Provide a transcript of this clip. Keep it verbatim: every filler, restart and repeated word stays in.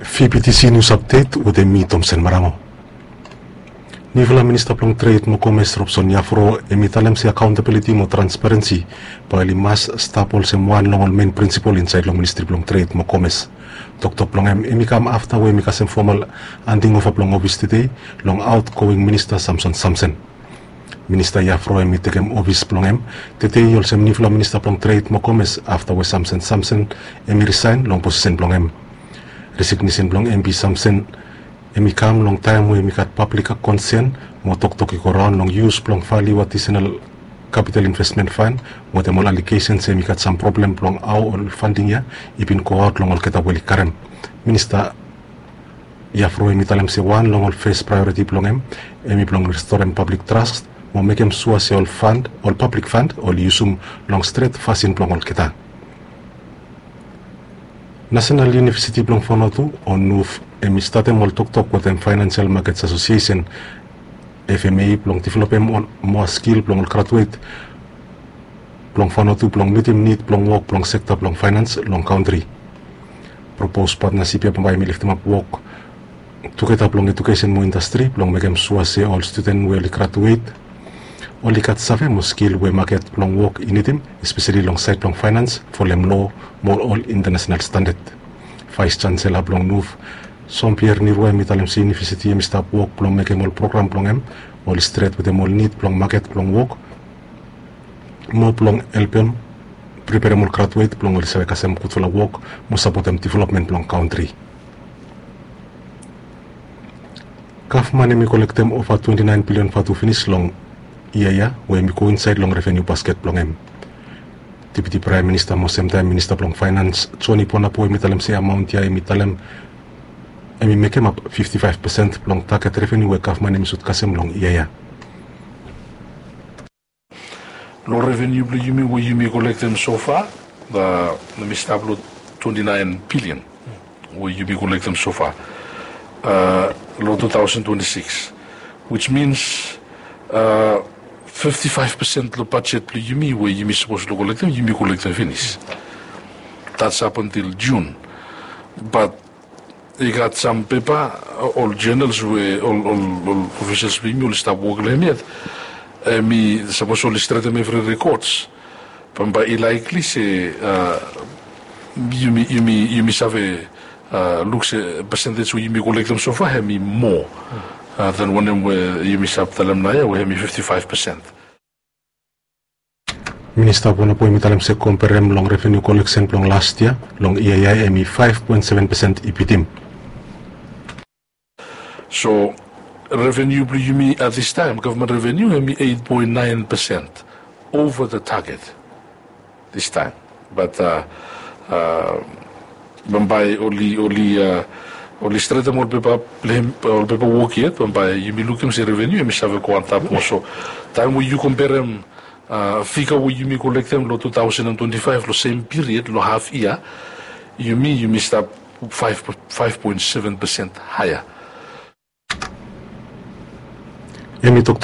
Fipitisi nius apdet wetem mi, Tomsen Marango. Niufala minista blong tred mo komes, Robson Yafro, hemi talem se akaontabiliti mo transparensi bae oli mas stap olsem wan long ol men prinsipol insaed long ministri blong tred mo komes. Toktok blong hem hemi kam afta we hemi kasem fomal handing ova blong ofis tede long aotgoing minista Samson Samsen. Minista Yafro hemi tekem ofis blong hem tede olsem niufala minista blong tred mo komes afta we Samson Samsen hemi risaen long posisen blong hem. Resignesen blong MP Samson hemi kam long taem we hemi gat pablik konsen mo toktok i go raon long yus blong valiu adisenal kapital invesmen fan wetem ol alegesen se hemi gat sam problem blong hao ol fanding ya i bin goaot long olgeta we oli karem. Minista Yafro hemi talem se wan long ol fes praeoriti blong hem hemi blong restorem pablik tras mo mekem sua se ol fand, ol pablik fand oli yusum long stret fasin blong olgeta. Nasenal Univesiti blong Vanuatu o NUV hemi statem ol toktok wetem Faenansial Makets Asosiesen, FMA, blong developem ol moa skil blong ol graduet blong Vanuatu blong mitim nid blong wok blong sekta blong faenans long kantri. Propos patnasip ya bambae hemi leftemap wok tugeta blong ejukesen mo indastri blong mekem sua se ol studen we oli graduet oli gat save mo skil we maket blong wok i nidim, espeseli long saed blong faenans, folem loa mo ol intanasenal standad. Vaes Chansela blong NUV, Jean Pierre Nirwa, hemi talem se univesiti hemi stap wok blong mekem ol program blong hem oli stret wetem ol nid blong maket blong wok mo blong helpem preperem ol graduet blong oli save kasem gudfala wok mo sapotem developmen blong kantri. Gavman hemi kolektem ova twenti naen bilion vatu finis long yia ya we hemi go insaed long reveniu basket blong hem. Deputi Praem Minista mo semtaem Minista blong Faenans Joni Bonapo hemi talem se amaon ya hemi talem hemi mekemap fifti faef pesen blong taget reveniu we gavman hemi sud kasem long yia ya. Long reveniu blong yumi we yumi kolektem sofa, hemi stap long twenti naen bilion we yumi kolektem sofa long tu taosen twenti sikis, which means fifti faef pesen long bajet blong yumi we yumi sapos long kolektem, yumi kolektem finis. That's up until June. But i gat sam pepa, ol journals we ol ol ol ofisals blong yumi oli stap wok long hem yet. Hemi sapos oli stretem evri rekods, bambae i laekli se yumi yumi yumi save luk se pesentej we yumi kolektem sofa hemi moa than wanem we yumi stap talem naoia we hemi fifti faef pesen. Minista Bonapo hemi talem se komperem long reveniu koleksen blong las yia, long yia ya hemi faef poen seven pesen i bitim. So reveniu blong yumi at this time, gavman reveniu hemi eit poen naen pesen ova the target this time. But bambae oli oli oli stretem ol pepa blong hem, ol pepa wok yet, bambae yumi lukim se reveniu hemi save go antap moa. So taem we yu komperem figa we yumi kolektem long tu taosen and twenti faef long sem piriod long haf yia, yumi yumi stap faef poen seven pesen haea. Hemi tok